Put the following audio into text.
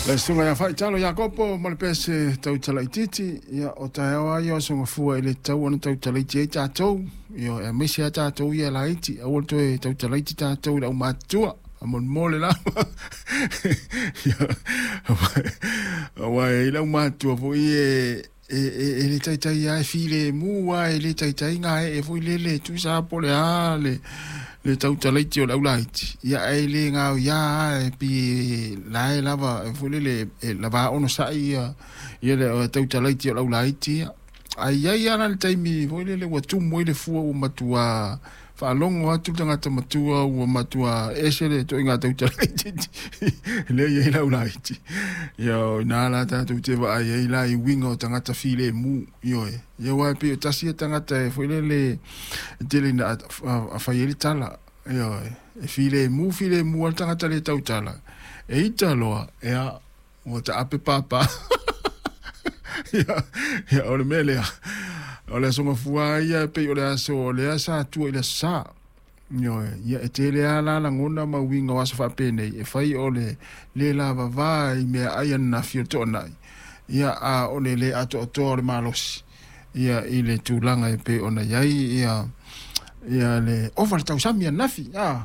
Le susuga ia Faitalo Iakopo ma le pese tautalaitiiti, ia o taeao lava ia o Aso Gafua e le tatau ona tautalaiti ai tatou, ioe, aemaise lava tatou ia e laiti, aua le toe tautalaiti tatou i le aumatutua, faamolemole lava. Aua e i ai le aumatutua foi ia e le taitai lava, e filemu lava, e le taitai gaee foi lele, tusa lava po o le a le tautalaiti o le aulaiti, ia ae le gaoia lava, e pei la e lava foi lele e lava onosai ia le tautalaiti o le aulaiti ia. Ae i ai lava la le taimi foi lele ua tumu ai le fua ua matua faalogo atu le tagata matua ua matua ese le ituaiga tautalaitiiti lea e i ai le aulaiti. Ia o i ina la tatou te vaai ai la i uiga o tagata filemu, ioe. Ia aua e pei o tasi ia tagata e foi lele e tele ina fai ai le tala, ioe, e filemu filemu lava le tagata le tautala, e ita loa, ia, ua taape papa. Ia, ia, o le mea lea, o le Aso Gafua lava ia e pei o le aso o lea sa tua i le Aso Sa. Ioe, ia e tele lava la lagona ma uiga o aso faapenei e fai o le le lavava i meaai ananafi o le toanai, ia a o le le atoatoa o le malosi ia i le tulaga e pei ona i ai ia le ova le tausami ananafi.